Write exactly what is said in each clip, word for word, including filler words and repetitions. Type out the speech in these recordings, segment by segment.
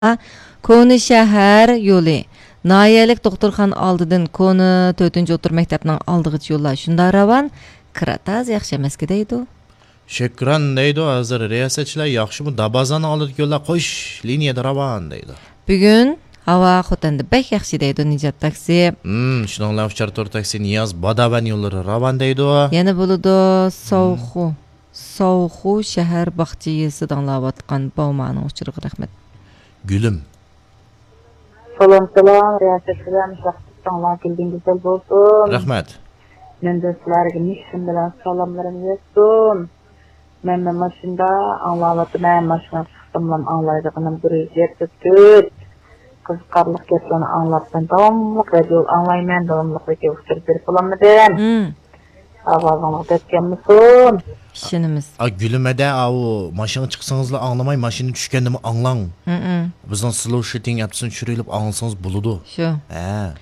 كونا شەھەر يولى، ناھىيەلىك دوختۇرخانا ئالدىدىن كونا تۆتىنچى ئوتتۇرا مەكتەپنىڭ ئالدىغىچە يوللار شۇنداق راۋان، كىرا تازا ياخشى ئەمەسكى دەيدۇ. شۆكران دەيدۇ، ھازىر رىياسەتچىلەر ياخشىمۇ، دابازاننىڭ ئالدىدىكى يوللار قوش لىنىيەدە راۋان دەيدۇ. بۈگۈن ھاۋا خوتەندە بەك ياخشى دەيدۇ نىجات تاكسى. ھىم، شۇنىڭ بىلەن ئۇچار تور تاكسى نىياز، باداۋەن يوللىرى راۋان دەيدۇ. يەنە بولىدۇ، سوخۇ. سوخۇ شەھەر باغچە يېزىسىدا ئاڭلاۋاتقان باۋمانىڭ ئۇچۇرىغا رەھمەت. گۈلۈم. سالام، سالام، رىياسەتچىلەر، مۇشۇ ۋاقىتتا تاڭلار كۈلگۈن گۈزەل بولسۇن. رەھمەت. مەندىن سىلەرگە مېھرىم بىلەن سالاملىرىم يەتسۇن. مەن، مەن ماشىنىدا ئاڭلاۋاتىمەن، ماشىنىغا چىقساملا ئاڭلايدىغىنىم بىر يۈز يەتتە تۆت. قىزىقارلىق گەپلەرنى ئاڭلاپ، مەن داۋاملىق رادىيو ئاڭلايمەن، داۋاملىق رادىيو ئۇچۇر بېرىپ بولالمىدىم. ھىم. ئاۋازىڭلار دەپ كەلمىسۇن. ئىشىنىمىز. ئا، گۈلۈمەدە، ئاۋۇ، ماشىنىغا چىقسىڭىزلا ئاڭلىماي، ماشىنىدا چۈشكەندىمۇ ئاڭلاڭ. ھىم. بىزنىڭ سلوشىتىڭ ئەپسىنى چۈشۈرۈۋېلىپ ئاڭلىسىڭىز بولىدۇ. شۇ. ھە.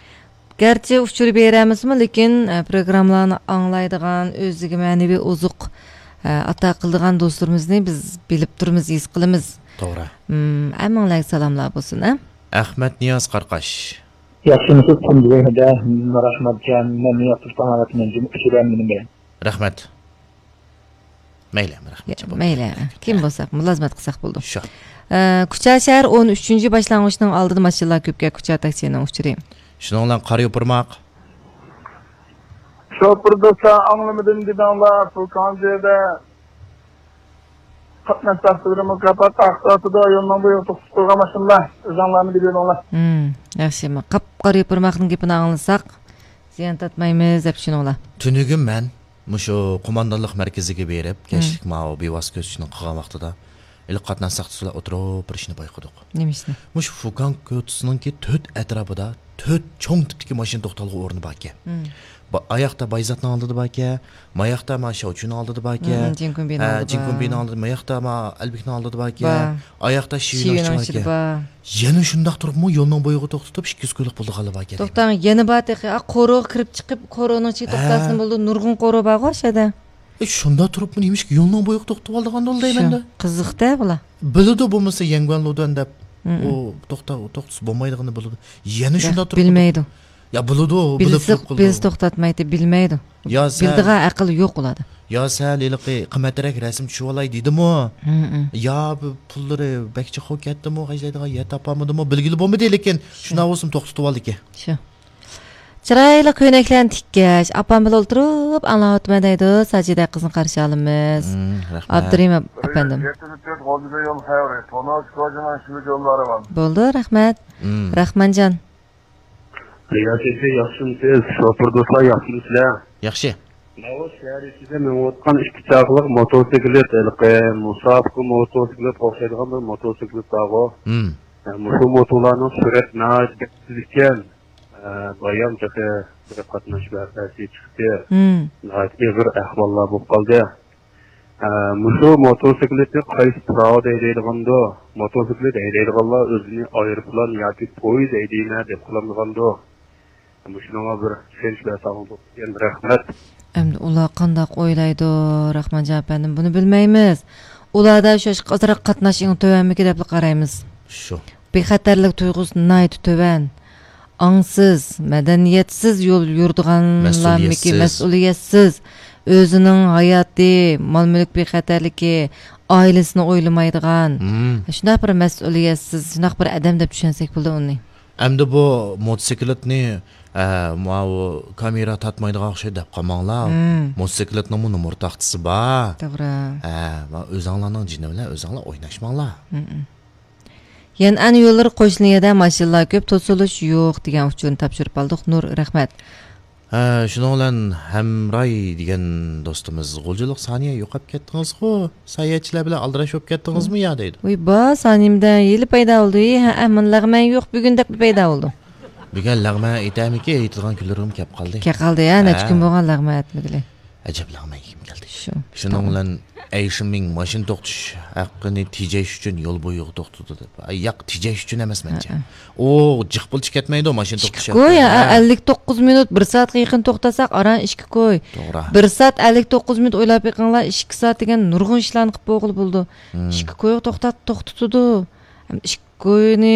گەرچە ئۇچۇر بېرەلمىسىمۇ، لېكىن، ئە، پروگراممىلارنى ئاڭلايدىغان، ئۆزىگە مەنىۋى ئوزۇق، ئە، ئاتا قىلىدىغان دوستلىرىمىزنى بىز بىلىپ تۇرىمىز، ھېس قىلىمىز. توغرا. ھىم، ھەممىڭلارغا سالاملار بولسۇن، ھە؟ ئەخمەت نىياز قاراقاش. ياخشىمۇسىز، تۇنجى زەھىردە رەھمەتجان، مەن ياخشى تاڭلىۋاتىمەن، جىم ئۇچۇرۇۋەن مېنىڭ بىلەن. رەھمەت. مەيلى، رەھمەت. يا، مەيلى، كىم بولساق مۇلازىمەت قىلساق بولىدۇ. شۇ. ئە، كۇچا شەھەر ئون ئۈچىنچى باشلانغۇچنىڭ ئالدىدا ماشىنىلار كۆپكەن، كۇچا تاكسىنىڭ ئۇچۇرى. شۇنىڭ بىلەن قارا يوپۇرماق. شوپۇر دوستلار، ئاڭلىمىدىم دېدىڭلار، پۇل كانجىدە. قاتناش تەقدىرى مۇكاپات ئاقساتىدۇ، يولنىڭ بويىغا توختىتىپ قويغان ماشىنىلار، ئۆزۈڭلارمۇ بىلىۋېلىڭلار. ھىم، ياخشى، ما-، قاپقارا يوپۇرماقنىڭ گېپىنى ئاڭلىساق، زىيان تارتمايمىز دەپ چۈشىنىڭلار. تۈنۈگۈن مەن مۇشۇ قوماندانلىق مەركىزىگە بېرىپ، ھىم. كەچلىك ماۋۇ بىۋاسىتە كۆزىتىشنى قىلغان ۋاقتىدا، ئىلى قاتناش ساقچىسى بىلەن ئوتتۇرا بىر ئىشنى بايقىدۇق. نېمە ئىشنى؟ مۇشۇ فۇكان كوچىسىنىڭكى تۆت ئەتراپىدا تۆت چوڭ تىپتىكى ماشىنا توختالغۇ ئورنى باركەن. مم. با-، ئاياقتا بايزاتنىڭ ئالدىدا باركەن، ماياقتا ما شاۋچۈنىڭ ئالدىدا باركەن، مم، جىنكۇنبىنىڭ ھە، ئالدىدا بار. جىنكۇنبىنىڭ ئالدىدا، ماياقتا ما ئەلبىكنىڭ ئالدىدا باركەن، بار. ئاياقتا شىۋىنىڭ شىۋىنىڭ ئىچىدە ئىچىدە باركەن. بار. يەنە شۇنداق تۇرۇپمۇ يولنىڭ بويىغا توختىتىپ، ئىككى يۈز كويلۇق پۇلنى ئالىدىغان باركەن. توختاڭ، يەنە بار تېخى. ئا، قورۇغا كىرىپ چىقىپ، قورۇنىڭ ئىچىگە ھە. توختالسىمۇ بولىدۇ، نۇرغۇن قورۇ بارغۇ ئاشۇ يەردە. ئە، شۇنداق تۇرۇپمۇ نېمىشقا يولنىڭ بويىغا توختىتىۋالىدىغاندۇ دەيمەن شۇ، دە. قىزىق-دە بۇلار. بىلىدۇ بولمىسا يەنگۈەن لۇدۈەن دەپ، مم. ئۇ توختا-، توختىسا بولمايدىغىنىنى بىلىدۇ. يەنە ياق، شۇنداق تۇرۇپ بىلمەيدۇ. يا بىلىدۇ، بىلسە، بىلىپ تۇرۇپ قىلىدۇ. بىلسە توختاتمايتتى، بىلمەيدۇ. يا سەن، بىلىدىغان ئەقىل يوق ئۇلاردا. يا سەن ھېلىقى قىممەترەك رەسىم چۈشۈۋالاي دېدىمۇ؟ مم، مم. يا بۇ پۇللىرى بەك چوقۇم كەتتىمۇ، خەجلەيدىغان يەر تاپالمىدىمۇ، بىلگىلى بولمىدى، لېكىن شۇ. شۇنداق بولسىمۇ توختىتىۋالدىكەن. شۇ. چىرايلىق كۆينەكلەرنى تىككەچ، ئاپام بىلەن ئولتۇرۇپ ئاڭلاۋاتىمەن دەيدۇ، ساجىدە قىزنى قارشى ئالىمىز. مم، رەھمەت. ئابدۇرېھىم ئەپەندىم. يەتتە يۈز تۆت غالجىدا يول خەۋىرى، تونۇش كوجىنىڭ شۇ يوللىرى بار. بولدى، رەھمەت. مم. راخمانجان. رىياسەتچى ياخشىمۇسىز؟ شوپۇر دوستلار ياخشىمۇسىلەر؟ ياخشى. ماۋۇ شەھەر ئىچىدە مېڭىۋاتقان ئىككى چاقىلىق موتوسىكلىت، ھېلىقى مۇسابىقە موتوسىكلىتقا ئوخشايدىغان بىر موتوسىكلىت بارغۇ. مم. مۇشۇ موتولارنىڭ سۈرئەت ناھايىتى بەك تېز ئىكەن. ئە، بايام تېخى بىر قاتناش ۋەقەسى چىقتى. مم. ناھايىتى ئېغىر ئەھۋاللار بولۇپ قالدى. ئە، مۇشۇ موتوسىكلىتنى قايسى پىراۋىدا ھەيدەيدىغاندۇ؟ موتوسىكلىت ھەيدەيدىغانلار ئۆزىنى ئايروپىلان ياكى پويىز ھەيدەيمەن دەپ قىلامدىغاندۇ؟ مۇشۇنىڭغا بىر چۈشەنچە بەرسەڭلار بولىدىكەن. رەھمەت. ئەمدى ئۇلار قانداق ئويلايدۇ، راخمانجان ئەپەندىم، بۇنى بىلمەيمىز. ئۇلاردا شۇ ئازراق قاتناش ئېڭى تۆۋەنمىكى دەپلا قارايمىز. شۇ. بىخەتەرلىك تۇيغۇسى ناھايىتى تۆۋەن. ئاڭسىز، مەدەنىيەتسىز يول يۈرىدىغانلارمىكى، مەسئۇلىيەتسىز. مەسئۇلىيەتسىز، ئۆزىنىڭ ھاياتى، مال-مۈلۈك بىخەتەرلىكى، ئائىلىسىنى ئويلىمايدىغان، مم. شۇنداق بىر مەسئۇلىيەتسىز، شۇنداق بىر ئادەم دەپ چۈشەنسەك بولىدۇ ئۇنى. ئەمدى بۇ موتوسىكلىتنى، ئە، ماۋۇ كامېرا تارتمايدىغان ئوخشايدۇ دەپ قالماڭلار. مم. موتوسىكلىتنىڭمۇ نومۇر تاختىسى بار. توغرا. ئە، ماۋۇ ئۆزۈڭلارنىڭ جېنى بىلەن ئۆزۈڭلار ئويناشماڭلار. مم. يەنئەن يوللىرى قوش لىنىيەدە ماشىنىلار كۆپ، توسۇلۇش يوق دېگەن ئۇچۇرنى تاپشۇرۇپ ئالدۇق. نۇر، رەھمەت. ھە، شۇنىڭ بىلەن ھەمراي دېگەن دوستىمىز، غۇلجىلىق سانىيە يوقاپ كەتتىڭىزغۇ؟ ساياھەتچىلەر بىلەن ئالدىراش بولۇپ كەتتىڭىزمۇ يا دەيدۇ. ۋۇي با، سانىيەمدە ھېلى پەيدا بولدى. ھەئە، مانا لەغمەن يوق بۈگۈن دەپلا پەيدا بولدى. بۈگۈن لەغمەن ئېتەرمىكى، ئېتىدىغان كۈنلىرىمۇ كەپ قالدى. كەپ قالدى، ھە، نەچچە ھە. كۈن بولغان لەغمەن ئەتمىگىلى. ئەجەب لەغمەن يېگۈم كەلدى. شۇ. شۇنىڭ بىلەن ئەيشىمىڭ ماشىنا توختىتىش ھەققىنى تېجەش ئۈچۈن يول بويىغا توختىتىدۇ دەپ. ئاي، ياق، تېجەش ئۈچۈن ئەمەس مەنچە. ھەئە. ئۇ جىق پۇل چىكەتمەيدۇ ماشىنا توختىتىش ھەققى. ئىككى كوي، ھە، ھە. ئەللىك توققۇز مىنۇت، بىر سائەتكە يېقىن توختاتساق، ئاران ئىككى كوي. توغرا. بىر سائەت ئەللىك توققۇز مىنۇت ئويلاپ بېقىڭلار، ئىككى سائەت دېگەن نۇرغۇن ئىشلارنى قىلىپ بولغىلى بولىدۇ. مم. ئىككى كويغا توختات-، توختىتىدۇ. ئىككى كوينى